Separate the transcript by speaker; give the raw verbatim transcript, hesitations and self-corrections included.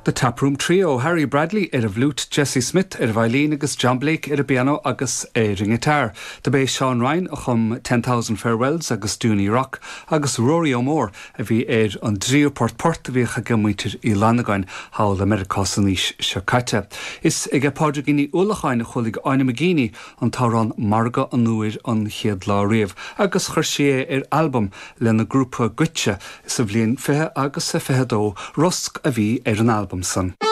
Speaker 1: The Taproom Trio Harry Bradley ar an bhfliúit Jesse Smith ar veidhlín agus John Blake ar an bpianó agus ar an ngiotár. Dob é Seán Ryan a chum Ten Thousand Farewells agus Dooney Rock agus Rory O'More a bhí ar an dtríú port port a bhíodh ag muintir Uí Fhlannagáin thall i Meiriceá san aois seo caite. Is ag Pádraigín Ní Uallacháin a chuala Áine McGeeney an t-amhrán Margadh an Iúir an chéad lá riamh, agus chuir sí é ar albam lena grúpa Goitse sa bhliain fiche agus a fiche dó rosc a bhí ar an albam san.